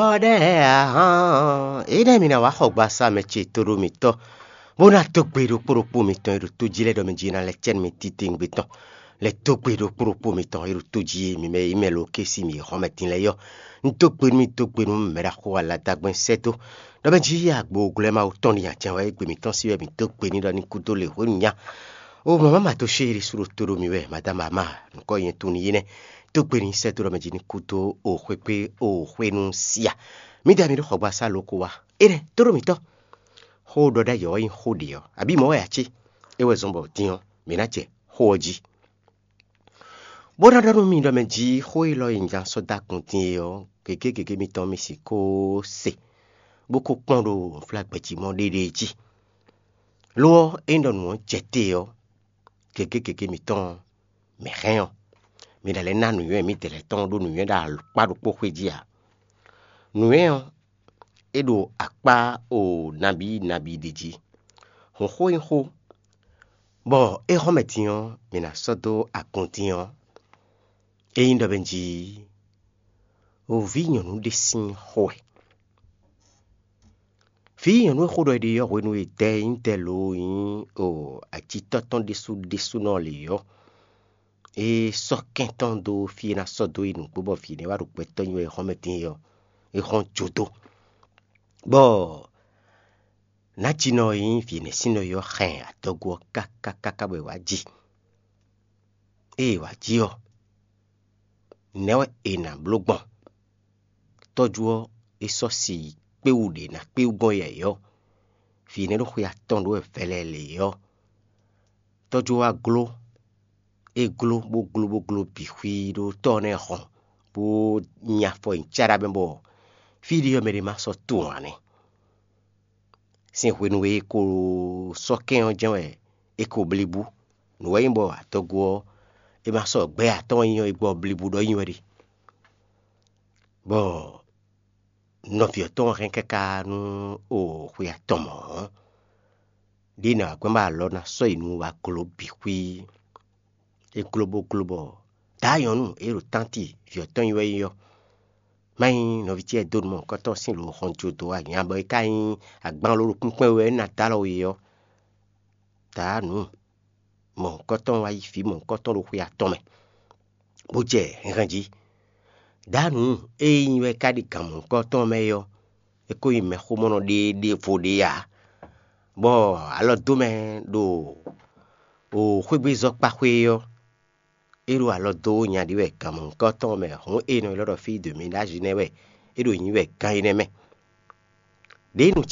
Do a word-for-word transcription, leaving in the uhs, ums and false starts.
Ɔ́ ɖɛ́ ǎ hán, énɛ́ mi ná wá xɔ gbasá mɛ ce tóɖó mitɔ́, bó ná dó gbe ɖokpó ɖokpó mitɔn e ɖo tó jí lɛ́ɛ ɖɔ mɛ jí ná lɛ́ cɛ́ nú mi titewungbe tɔn. Lɛ́ dó gbe ɖokpó ɖokpó mitɔn e ɖo tó jí e mi mɛ e mɛ lo ké sí mi e xɔ́mɛ din lɛ́ɛ yɔ. Un dó gbe nú mi dó gbe nú mɛ ɖaxó aladagbɛn sɛ́ dó ɖɔ mɛ jí agbo glɛ́ Mawu tɔn ɖi nya jɛ́n wɛ é gbe mǐtɔn sí wɛ mǐ dó gbe n'i ɖɔ ní kú dó lě hwenu nya. O mama ma to ṣé ɖésú ɖo tó ɖo mi wɛ madama ma nukɔ nyɛ tunwun yi nɛ. Tó gbe ní sɛ́ dó ɖɔ mɛ jí ní kú dó o xwé kpé o xwé nú sia. Mǐ da mi ɖo xɔgbasá loko wá. Énɛ́ tó ɖo mǐtɔn. Xó ɖɔ ɖ'ayǐ ɔ́ nyí xó ɖě ɔ́, abǐ mɔ̌ wɛ ǎ cé? É wɛ zɔ́n bɔ din ɔ́, mǐ ná jɛ xó ɔ́ jí. Bó ná ɖɔ nú mi ɖɔ mɛ jí xó élɔ́ e un ján sɔ́ dó akun din é ɔ́, gěgé gěgé mitɔn mi sixú se, bó kó kpɔ́n ɖo nǔflágbɛ́ jí mɔ ɖéɖée jí. Lo ɔ́, ényí ɖɔ nǔ ɔ́ jɛ te ɔ́, gěgé gěgé mitɔn mǐ hɛn ɔ́, mi ná lɛ́ ná nǔnywɛ́ mǐdɛɛ lɛ́ɛ tɔn ɖó nǔnywɛ́ ɖo akpá ɖokpó xwé jí ǎ. Nǔnywɛ́ ɔ́, é ɖo akpá o nabí nabí ɖé jí. Hǔn xó nyí xó, bɔ é hɔn mɛ din ɔ́, mǐ ná sɔ́ dó agun din ɔ́, é nyí ɖɔ mɛ jí o vǐ nyɔ̌nu ɖé sín xó wɛ. Vǐ nyɔ̌nu e xó ɖɔ è ɖe ɔ́ hwenu e dɛ e nyí dɛ lo nyí o acitɔ́ tɔn ɖésú ɖésúnɔ lě ɔ́, é sɔ́ kɛn tɔn dó fí e ná sɔ́ dó yi nǔgbó bɔ vǐ énɛ́ wá ɖo gbɛtɔ́ nyi wɛ e hɔn mɛ din é ɔ́, é hɔn jó dó. Bɔ nǎjínɔ e nyí vǐ énɛ́ sín nɔ é ɔ́ hɛn adɔgo ɔ́ káká káká bɔ è wǎ ji. Ée è wǎ ji ɔ́, nɛ̌ wɛ è nǎ bló gbɔn? Tɔ́jú ɔ́, é sɔ́ si kpéwú ɖě ná kpéwú gbɔn yɛ̌yɔ́. Vǐ énɛ́ ɖo xwe atɔn ɖó wɛ vɛlɛlɛ ɔ́, tɔ́jú ɔ́ wá gló. É gló bó gló bó gló bǐ xwí ɖó tɔ́ ɔ́ nɛ́ hɔn, bó nyi afɔ nyi cáɖá mɛ bɔ fí ɖé ɔ́ mɛ ɖé ma sɔ́ tunwun ǎ nɛ́. Sín hwenu e è ko sɔ́ kɛ́n ɔ́ jɛ́n wɛ è ko blí bú. Nǔ wɛ nyí bɔ adɔgo ɔ́, è ma sɔ́ gbɛ́ atɔ́ɔ́n nyi ɔ́, è gbɔ blí bú ɖɔ nyi wɛ ɖe. Bɔ nɔví ɔ́ tɔn hɛn káká nú o xwe atɔn mɔ̌ ɔ́, ɖěe nǎ wá gbɛ́ bɔ alɔ ná sɔ́ yi nu wá gló bǐ xwí. É gló bó gló bɔ daá nyɔ̌nu e ɖo tánti vǐ ɔ́ tɔn nyi wɛ nyí ɔ́, má nyí nɔví ce dó nǔ mɔ̌hunkɔtɔn sín lǒ xɔn jó dó wá nya bɔ é ka nyí agban ló ɖo kpínkpɛ́n wɛ é ná dó alɔ we ɔ́, daá nǔ mɔ̌hunkɔtɔn wá yi vǐ mɔ̌hunkɔtɔn ɖo xwe atɔn mɛ, bó jɛ hɛnhɛn jí. Daá nǔ e nyí wɛ ka ɖi gǎn mɔ̌hunkɔtɔn mɛ é ɔ́, é ko nyí mɛxómɔnɔ ɖé ɖěvo ɖé ǎ, bɔ alɔ dó mɛ ɖo o xwégbézɔ́kpáxwé ɔ́, é ɖo alɔ dó nya ɖé wɛ gǎn mɔ̌hunkɔtɔn mɛ hǔn e nɔ ylɔ́ ɖɔ fí de mǐ ɖ'azǐ nɛ́ wɛ é ɖo nyǐ wɛ gán énɛ́ mɛ. Ɖěe nǔ